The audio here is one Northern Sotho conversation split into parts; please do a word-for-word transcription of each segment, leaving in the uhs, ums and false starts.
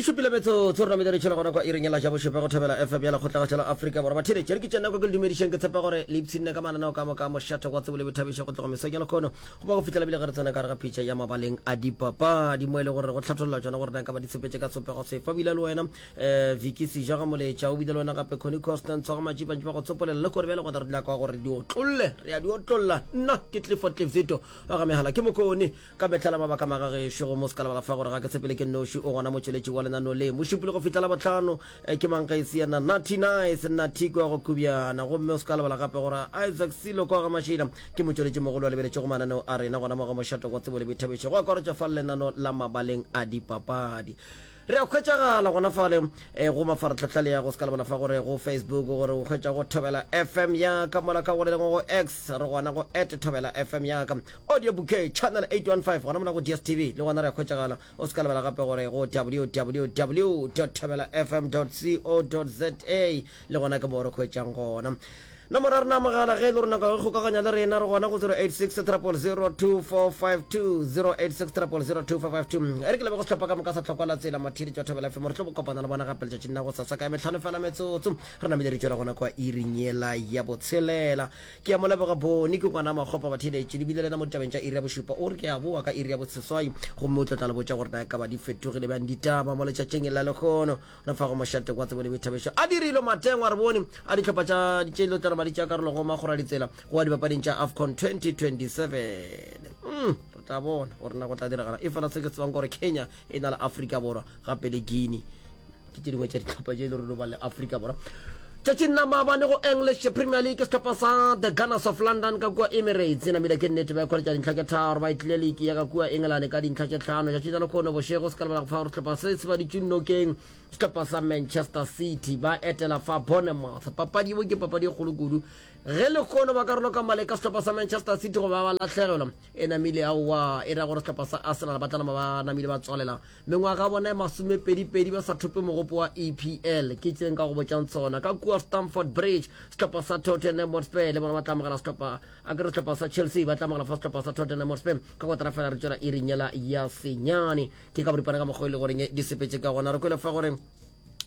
E šupile metsotso re namile re tšhela gona kwa iring ya la ja bošupa go Thobela F M ya Lekgotlagašo la Afrika Borwa. Batheeletši, re ke tša nako ke le dumedišeng, ke tshepa gore le ipshinne ka mananeo ka moka a mošate wa tsebo le boithabišo go tloga mesong ya lekhono go ba go fihlela bile ge re tsena ka gare ga pitša ya mabaleng a dipapadi mo e le gore re go hlatholla tšona gore na ka ba di tshepetše ka sopego sefa. O bile le wena um Vicky Seja ga Moletša, o bile le wena gape Connie Constant Tshwaga Matšipa ntše ba go tsopolela le kore bjale gona re dula kwa gore di otlolle, re a di otlolla. Nna ke Clifford Cliffzito wa ga Mehala ke Mokone. Ka mehla la mabaka magagešo go mo se ka lebala fa gore ga ke tshepele ke nnoši, o gona motšweletši wa lenaneo le. Mošupologo fihla Labohlano ke mang ge e se yena Natty Nice, Natty kwa go Kubjana. Gomme o se ka lebala gape gore Isaac Silo kwa ga Mašila ke motšweletši mogolo wa lebeletšego mananeo a rena gona mo ga Mošate wa Tsebo le Boithabišo, go akaretšwa fa lenaneo la Mabaleng a Dipapadi. Re a hwetšagala gona fale go mafaratlhatlha le ya go se ka lebala fa gore go Facebook gore o hwetša go Thobela F M ya ka, mola ka go le lengwe go X re gona go at Thobela F M ya ka. Audio Bouquet channel eight one five gona mola go D S T V le gona re a hwetšagala. O se ka lebala gape gore go W W W dot thobela F M dot co dot za le gona ke mo re hwetšang gona. Nomoro ya rena mogala ge e le gore nako ya go kgokaganya le rena, re gona go zero eight six zero zero zero two four five two, zero eight six zero zero zero two four five two. E re ke lebe go sehlopha ka moka sa Tlhokwa la Tsela mathiri tša Thobela F M. Re tlo kopana le bona gape letšatšing la go sasa ka metlhano fela metsotso re namile re tšwela gona kwa iring yela ya botshelela. Ke ya moleboga bone ke ngwana makgopa batheletše lebile lena mo ditabeng tša iri ya bošupa. O re ke a boa ka iri ya boseswai gomme o tlo tla le botša gore na e ka ba di fetogile bjang ditaba mo letšatšing la lekgono re fa go mošate kwa tsebo le boithabišo. A dirilwe matengwa re bone a dihlopha tša tše lo tla ba di tša karolo go magora ditsela go wa dipapading tša AFCON twenty twenty-seven. mm, re tla bona gore na go tla diragala e fela se ke tsebang gore Kenya e na le Afrika Borwa gape le Guinea ke tše dingwe tša dihlopha tše e le gore ba le Afrika Borwa. Tšatšing la maabane go English Premier League, sehlopha sa The Gunners of London ka kua Emirates e namile ke nnete ba ikgwaletša dintlha tše tharo, ba itlile league ya ka kua England ka dintlha tše tlhano. Tšatšing la lekgono bošego se ka lebala go fa gore sehlopha se se baditše nokeng sehlopha sa Manchester City ba etela fa Bournemouth. Papadi eo ke papadi e kgolo kudu. Ge lekgono ba karolo ka maleka sehlopha sa Manchester City go ba ba lahlegelwa e namile aowa e ra gore sehlopha sa Arsenal ba tla nama ba namile ba tswalela mengwaga bona e masomepedipedi ba sa thope mogopo wa E P L. Ke tse nka go botšang tsona. Ka kua Stamford Bridge sehlopha sa Tottenham Hotspur le bona ba tla amogela sehlopha a kere sehlopha sa Chelsea ba tla amogela fa sehlopha sa Tottenham Hotspur ka kotara fela re tšwela iring yela ya senyane. Ke ka boripana ka mokgwa e le goreng di sepetše ka gona. Re kwele fa gore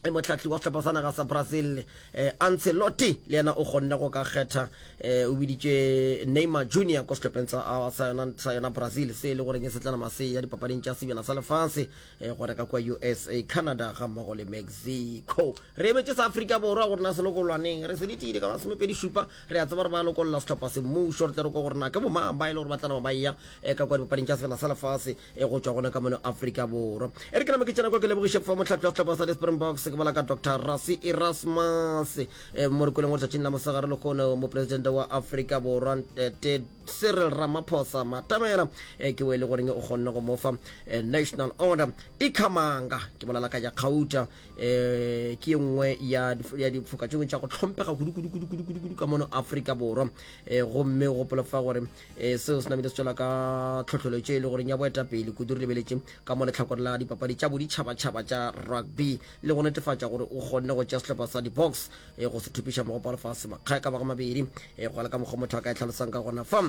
motlhatli wa sehlopha sa naga sa Brazil eh, Ancelotti le yena o kgonne go ka kgetha eh, o biditše Neymar Junior ko sehlopheng sa sa yona sa yona Brazil se e le goreng se tla nama se ya dipapading tša sebjana sa lefase eh, go reka kwa U S A, Canada ga mmogo le Mexico. Re emetše sa Afrika Borwa gore na se lokolwaneng re se ditile ka masomepedi šupa. Re a tseba gore ba lokolla sehlopha semmušo re tle re ko gore na ke bomang ba e le gore ba tla nama ba eya eh, ka kwa dipapading tša sebjana sa lefase e go tšwa gona ka mono Afrika Borwa. E re ke name ke tšena kwa ke lebogiše fa motlhatli wa sehlopha sa di-Springboks, ke bola ka Doctor Rassie Erasmus e mo re kweleng gore tšatšing la mosegare lekgono mopresidente wa Afrika Borwa te Cyril Ramaphosa Matamela e ke o e le goreng o kgonne go mo fa national order Ikhamanga, ke bolela ka ya kgauta um ke ye nngwe ya difoka tše dingwe tša go tlhompega kudu kudu kudu kudu kudu kudu ka mono Afrika Borwa. um gomme o gopola fa gore um seo se namile se tšwela ka tlhohleletšo e le goreng ya boetapele kudu re lebeletše ka mo letlhakore la dipapadi tša boditšhabatšhaba tša rugby le go netefatša gore o kgonne go tšea sehlopha sa di-Boks e go se thupiša mogopo wa lefase makgae ka baga mabedi e go la ka mokgwa motho a ka e tlhalosang ka gona fa.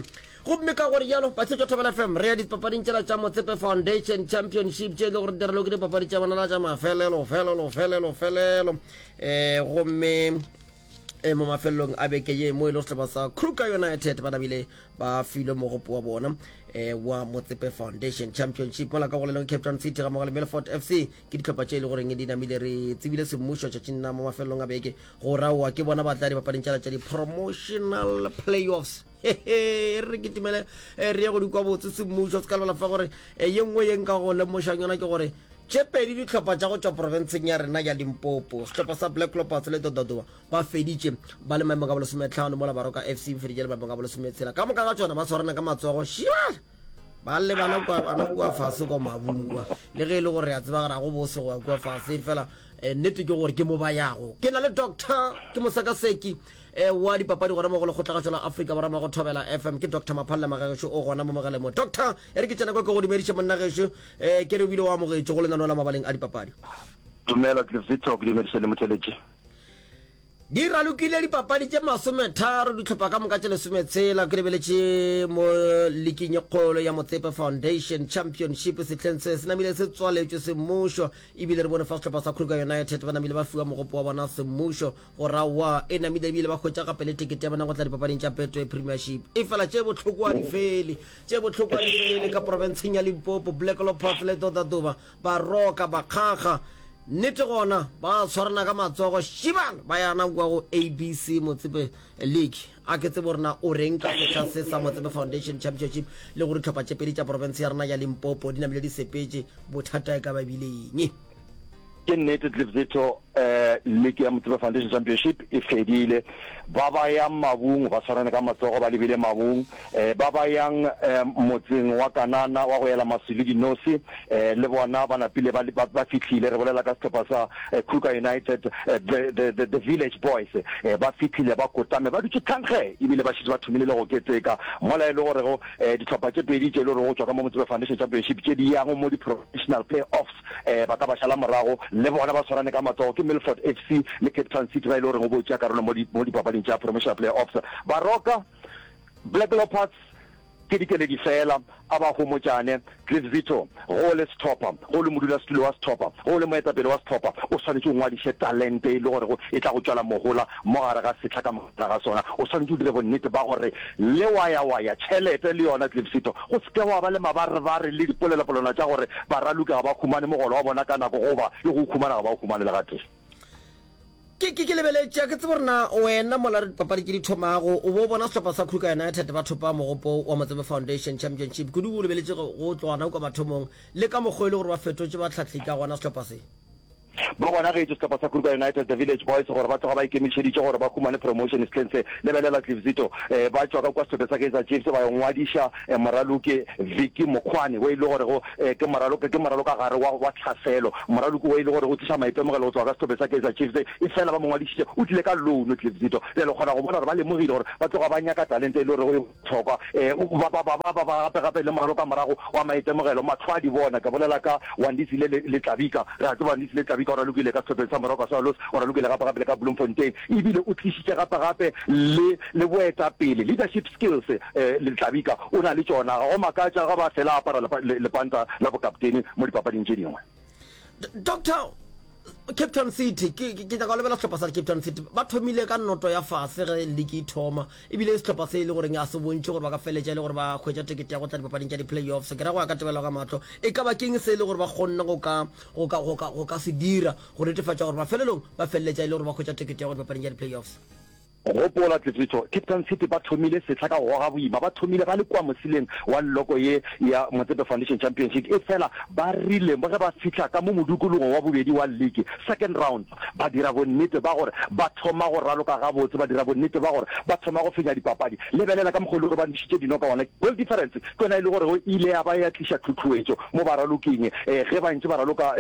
Gomme ka gore jalo batshetšwa Thobela F M re ya dipapading tšela tša Motsepe Foundation Championship tše e le gore di raloke dipapadi tša bona la tša mafelelo felelo felelo felelo um gomme e mo mafelelong a beke ye mo e le sehlopha sa Kruger United ba nabile ba filwe mogopo wa bona eh, wa Motsepe Foundation Championship, mola ka go leleng Cape Town City ga mmogo le Milford F C ke dihlopha tše e le goreng di namile re tsebile semmušo tšatšing la mo mafelelong a beke go raowa ke bona ba tla dipapading tšela tša di-promotional playoffs. Hehe, re kitimele eh, re ye go di kwa botse semmušo. Se ka lebala fa gore eh, ye nngwe ye nka go lemošang yona ke gore tše pedi dihlopha tša go tšwa profenseng ya rena ya Limpopo, sehlopha sa Black Leopards le Dododoma, ba feditše ba le maemong a bolesometlhano, mola Baroka F C ba feditše le maemong a bolesometshela. Ka moka ga tšona ba tshwarana ka matsogo šia ba lebana kua bana kua fase kwa mabung kwa, le ge e le gore re a tseba gore a go bose go ya kua fase fela eh, nnete ke gore ke mo ba yago. Ke na le doctor ke mosekaseki eh, wa dipapadi gona mo go Lekgotlagašo la Afrika Borwa mo go Thobela F M, ke Doctor Maphalle Magagešo o gona mo mogaleng mo. Doctor, e re ke tsena kwa ke go dumediše monna gešo um ke re o bile o amogetše go lenaneo la Mabaleng a Dipapadi. Dumela Cliff Victor, ke dumediše le motheletši. Di ralokile dipapadi tše masometharo dihlopha ka moka tše lesometshela. Ke lebeletše mo liking ye kgolo ya Motsepe Foundation Championship sehleng se se namile se tswaletšwe semmušo ebile re bone fa sehlopha sa Kruger United ba namile ba fiwa mogopo wa bona semmušo go ra wa e namile ebile ba hwetša gape le tekete ya bona go tla dipapading tša Betway Premiership. Efela tše bohloko a di fele, tše bohloko a di fele ka profenseng ya Limpopo. Black Leopards le Dodaduma ba roka bakgakga. Nnete gona ba tshwarana ka matsogo šibana ba yana kua go A B C Motsepe League. A ke tsebe gore na o reng ka sehla se sa Motsepe Foundation Championship le gore dihlopha tše pedi tša profense ya rena ya Limpopo di namile di sepetše, bothata e ka ba bile eng? Ke nnete Cliff Zitho, um league ya Motsepe Foundation Championship e fedile. Ba ba yang mabung ba tshwarane ka matsogo ba lebile mabung. Um ba ba yang um motseng wa Kanana wa go ela maswi le dinose um le bona ba napile ba ba ba fihlile. Re bolela ka sehlopha sa Kruger United, the the the the Village Boys. Um ba fihlile ba kotame ba dutše thankge ebile ba šetše ba thomile le go keteka. Mola e le gorego um dihlopha tše pedi tše e le gorego go tšwa ka mo Motsepe Foundation Championship tše di yang mo di-professional play-offs um ba ka ba šala morago le bona ba swarane ka matsogo ke Milford F C le Cape Town City ba e le goreng o bo tšea karolo mo di mo dipapading tša promotional play-offs. Baroka Black Leopards ke dikeledi fela a ba homotšane. Cliff Zitho, go le sehlopha, go le modulasetulo wa sehlopha, go le moetapele wa sehlopha, o swanetše o ngwadiše talente e le gorego e tla go tšwela mohola mo gare ga sehla ka moka ga sona. O swanetše o dire bonnete ba gore le wayawaya tšhelete le yona, Cliff Zitho, go se ke gwa ba le mabarebare le dipolelopolelwana tša gore baraloki ga ba humane mogolo wa bona ka nako goba le go o humana ga ba o humane le gatee. Ke, ke, ke lebeletše, a ke tsebe gore na wena mola dipapadi tše di thomago o bo o bona sehlopha sa Kruger United ba thopa mogopo wa Motsepe Foundation Championship, kudu o lebeletše go, go tloga gona kua mathomong le ka mokgwa e le gore ba fetotše bahlahli ka gona sehlopha se. Ba bonagetše sehlopha sa Kruger United, The Village Boys, gore ba tloga ba ikemišeditše gore ba humane promotion sehleng se. Lebelela Cliff Zito, eh, ba tšwa ka kua sehlopheng sa Kaizer Chiefs ba yo ngwadiša eh, moraloki Vicky Mokhwane wo e le gorego eh, ke moraloki ke moralokagare wa, wa tlhaselo. Moraloki wo e le gore o tliša maitemogelo go tloga ka sehlopheng sa Kaizer Chiefs, efela ba mo ngwadišitše o tlile ka loan Cliff Zito. Bjale o kgona go bona gore ba lemogile gore ba tloga ba nyaka talente e le gorego e bohlokwa. Eh, ba, ba, ba, ba, ba, ba gape gape le moralokamorago wa maitemogelo, mahlo a di bona. Ke bolela ka Wandisile le, le Tlabika. Re a tseba Wandisile Tlabika o ralokile ka sehlopheng sa Moroka Swallows, o ralokile gape gape le ka Bloemfontein, ebile o tlišitše gape gape le, le boetapele, leadership skills, eh, le Tlabika o na le tšona. Ga go makatša ga ba fela a apara lepa, le, lepanta la bokaptene mo dipapading tše dingwe. Doctor, Cape Town City, ke, ke, ke nyaka go lebela sehlopha sa Cape Town City. Ba thomile ka noto ya fase ge league e thoma, ebile sehlopha se e le goreng a se bontšhe gore ba ka feletša e le gore ba hwetša tekete ya go tla dipapading tša di-playoffs. Ke ra go ya ka tebelelo ka mahlo, e ka ba keng se e le gore ba kgonne go ka, go ka, go ka, go ka se dira go netefatša gore mafelelong ba feleletša e le gore ba hwetša tekete ya go dipapading tša di-playoffs? Gopola, Tletletšo, Cape Town City ba thomile sehla ka go goga boima. Ba thomile ba le kua moseleng wa lloko ye ya Motsepe Foundation Championship, efela ba rile ge ba fihla ka mo modukologong wa bobedi wa liki, second round, ba dira bonnete ba gore ba thoma go raloka gabotse, ba dira bonnete ba gore ba thoma go fenya dipapadi. Lebelela ka mokgwa o e le gore ba nwešitše dino ka gona. Goal difference ke yona e le gore e ile ya ba ya tliša tlhutlhuetšo mo baraloking ge ba ntše ba raloka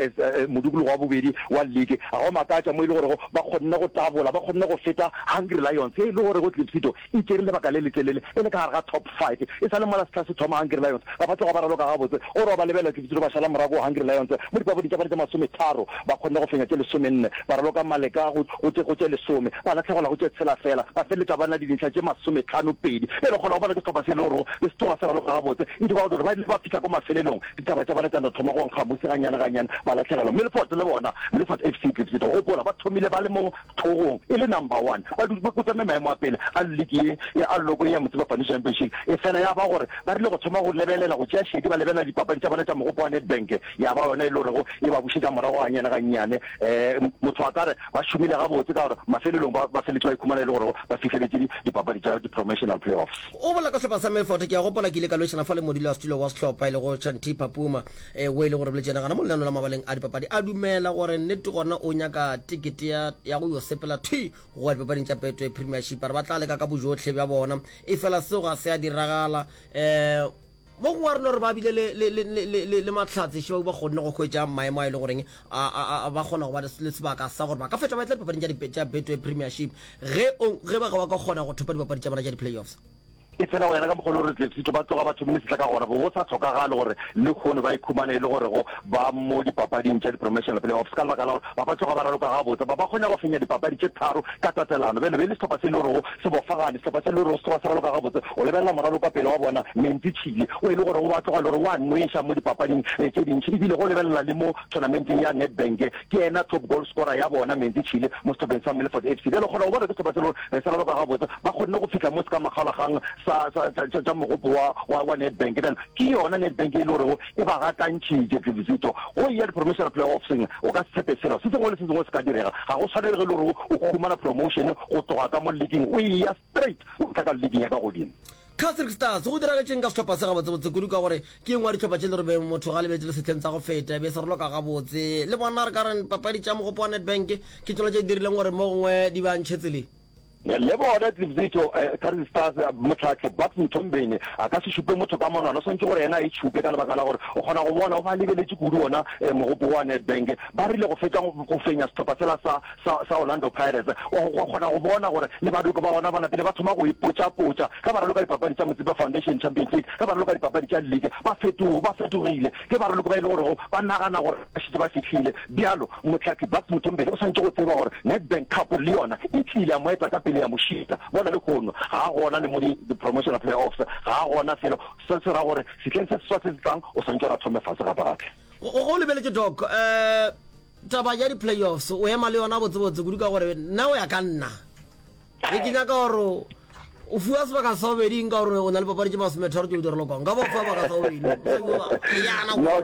modikologo wa bobedi wa liki. Ga go makatša mo e le gorego ba kgonne go tabola, ba kgonne go feta Hungry Lions ye e le gorego Clipsito e tšere lebaka le letelele e le ka gare ga top five. E sa le mola sehla se thoma Hungry Lions ga ba tloga ba raloka gabotse. Gore wa ba lebelela Clipsito ba šala morago Hungry Lions mo dipapading tša bona tše masometharo ba kgonne go fenya tše lesomenne, ba raloka Maleka go go tše go tše lesome, ba lahlegelwa go tše tshela feela, ba feleletša ba na le dintlha tše masometlhano pedi. Bjale o kgona go bona ke sehlopha se e le gorego be se tloga se raloka gabotse. E dira gore ba ile ba fihla ko mafelelong, ditaba tša bona tša no thoma go nkga musi gannyane gannyane, ba lahlegelwa. Milford le bona, Milford F C Klipsito, gopola ba thomile ba le mo hlogong e le number one, ba dutše ba kotame maemo a pele a liki ye ya a loko ye ya Motsepe Foundation Championship. Efela ya ba gore ba rile go thoma go lebelela, go tšea šedi, ba lebelela dipapadi tša bona tša mogopo wa Nedbank, ya ba yona e le gorego e ba bušetša morago gannyane gannyane. Um motho a ka re ba šomile gabotse ka gore mafelelong ba ba feletše ba ikhumana e le gorego ba fihleletše dipapadi tša di-promotional playoffs. O bolela ka sehlopha sa Milford, ke a gopola ke ile ka lwešana fa le modulasetulo wa sehlopha e lego Chantipa Puma, eh, o e le gore boletše yena gona mo lenaneo la mabaleng a dipapadi, a dumela gore nnete gona o nyaka tekete ya, ya go yo sepela thwi go ya dipapading tša Betway Premiership. A re ba tla leka ka bojohle bja bona, efela seo ga se a diragala. Um mo gongwe a re no re ba bile le, le, le, le, le, le mahlatse šeo ba kgonne go hwetša maemo a e le goreng a, a, a, ba kgona go ba le sebaka sa gore ba ka fetša ba etla dipapading tša, tša Betway Premiership ge, o, ge ba, ba ka kgona go thopa dipapadi tša bona tša di-playoffs. Efela go yena ka mokgwa o le gore Tlefsito ba tloga ba thomile sehla ka gona, bo go sa hlokagale gore lehono ba ikhumane e le gore go ba mo dipapading tša di-promotional play-offs ka lebaka la gore ba ba tloga ba raloka gabotse, ba ba kgona go fenya dipapadi tše tharo ka tatelano. Bjale be e le sehlopha se e le gorego se bofagane, sehlopha se e le gorego se tloga se raloka gabotse. O lebelela moralokapele wa bona, Mentsi Chili, o e le gorego ba tloga e le gore o a nweša mo dipapading tše dintši, ebile go lebelela le mo tournamenteng ya Nedbank, ke yena top goal scorer ya bona, Mentsi Chili, mo sehlopheng sa Milford F C. Bjale o kgona go bona ke sehlopha se e le gore se raloka gabotse, ba kgonne go fihla mo se ka makgaolakgang sa, sa, sa, sa, tša mogopo wa, wa, wa Nedbank. Bjale ke yona Nedbank e le gorego e ba gakantšhitše. Tlebišito go eya di-promotional play-offseng, o ka se tshepe selo. Se sengwe le se sengwe se ka direga. Ga go swanele ge e le gore o humana promotion go tloga ka mo leaking o eya straight o tla ka leaking ya ka godimo. Casric Stars, go diragetšeng ka sehlopha se gabotsebotse kudu ka gore ke ye nngwe ya dihlopha tše le re motho ga lebetse le sehleng sa go feta e be se raloka gabotse. Le bona re ka re papadi tša mogopo wa Nedbank ke tšona tše di dirileng gore mo gongwe di ba ntšhe tseleng. Le bona Tlibzito, Casric Stars, mohlahli Bucks Mthombeni a ka se šupe motho ka monwana, o swanetše gore yena a itšhupe ka lebaka la gore o kgona go bona o ba lebeletše kudu ona mogopo wa Nedbank. Ba rile go fetša go fenya sehlopha sela sa sa, sa Orlando Pirates, o, o kgona go bona gore le baraloki ba gona ba napile ba thoma go ipotšapotša ge ba raloka dipapadi tša Motsepe Foundation Champions League, ge ba raloka dipapadi tša league, ba fetogo, ba fetogile. Ke baraloki ba e le gorego ba nagana gore ba šetše ba fihlile. Bjalo, mohlahli Bucks Mthombeni o swanetše go tseba gore Nedbank Cup le yona e tlile ya mo eta ka pele ya mo šita. Bona lehono, ga a gona le mo di, di-promotional play-offs, ga a gona felo. Se se ra gore sehleng se seswa se se tlang o swanetše gore a thome fase gape-gape. Go, go lebeletše Doc, um taba ya di-playoffs o ema le yona botsebotse kudu ka gore nna o ya ka nna ge ke nyaka gore o fiwa sebaka sa bobedi nka gore o na le papadi tše masometharo tše o di ralokwang nka ba o fiwa baka sa bobedi No,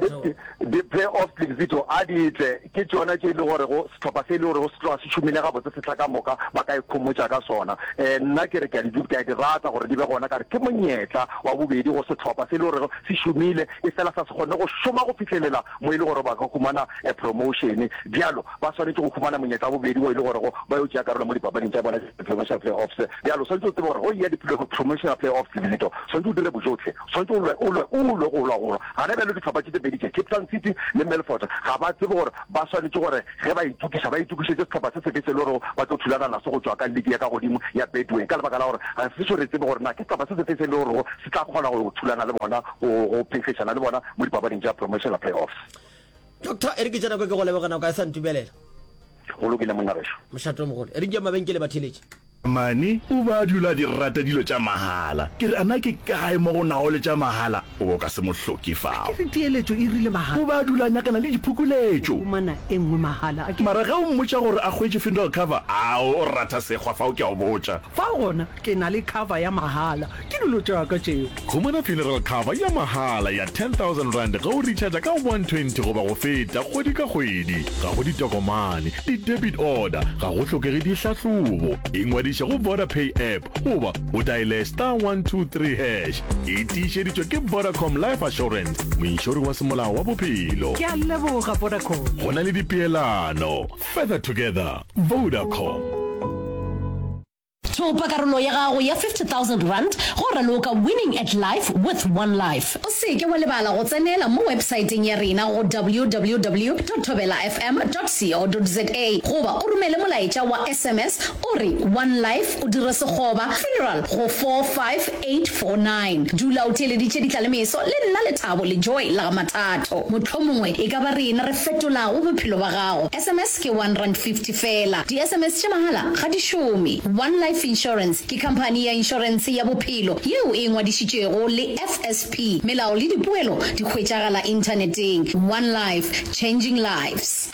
di-playoff Zito a di tle ke tšona tše e le gorego sehlopha se e le gorego se tloga se šomile gabotse sehla ka moka ba ka ikhomotša ka sona. Um nna ke re ke a di ke a di rata gore di be gona ka re ke monyetla wa bobedi go sehlopha se e le gorego se šomile e fela sa se kgone go šoma go fihlelela mo e le gore ba ka humana promotion. Bjalo ba swanetše go humana monyetla wa bobedi wo e le gorego ba yo tšea karolo mo dipapading tša bona tša di-promotional play-offs. Bjalo o swanetše o tsebe gore ge o eya di-promotional play-offs Lito, o swanetše o dire bojohle, o swanetše o lwe, o lwe, o lwe go lwa go lwa. Gana bjalo dihlopha tše tše pedi tše, Cape Town City le Milford, ga ba tsebe gore ba swanetše gore ge ba itokiša ba itokišetše sehlopha se sefe se e le gorego ba tlo thulana naso go tšwa ka liki ya ka godimo ya Betway ka lebaka la gore ga se sešo re tsebe gore na ke sehlopha se sefe se e le gorego se tla kgona go thulana le bona, go, go phenkgišana le bona mo dipapading tša promotional play-offs. Doctor, e re ke tše nako ke go leboge nako ga e sa ntumelela. Go lokile monna gešo. Mošate o mogolo. E re ke ye mabenkele batheeletši. Mane o be a dula a di rata dilo tša mahala. Ke re, A na ke kae mo go nago le tša mahala? O be o ka se mo hloke fao. A ke re teeletšo e rile mahala. O be a dula a nyakana le diphokoletšo. O humana e nngwe mahala. A ke. Mara ge o mmotša gore a hwetše funeral cover, ao, o ratha sekgwa fao, ke a o botša. Fao gona ke na le cover ya mahala. Ke dilo tša ka tšeo. Humana funeral cover ya mahala ya ten thousand rand ge o recharger ka one twenty goba go feta kgwedi ka kgwedi. Ga go ditokomane, di-debit order, ga go hlokege dihlahlobo. Ingwadiše go Vodapay app goba o diale star one two three hash. E tiišeditšwe ke Vodacom Life Assurance, moinšori wa semolao wa bophelo. Ke a leboga Vodacom. Go na le dipeelano. Further together, Vodacom. Thopa karolo ya gago ya fifty thousand rand go raloka Winning at Life with One Life. O se ke wa lebala go tsenela mo websaeteng ya rena go www dot thobelafm dot co dot za goba o romele molaetša wa S M S o re One Life o dire sekgoba funeral go four five eight four nine. Dula o theeleditše Ditlalemeso le nna Lethabo le Joy la ga Mathatho. Mohlomongwe e ka ba rena re fetolago bophelo ba gago. S M S ke one rand fifty feela. Di S M S tša mahala ga di šome. One Life Insurance ke khamphani ya inšorense ya bophelo yeo e ngwadišitšwego le F S P. Melao le dipoelo di hwetšagala inthaneteng. One Life, changing lives.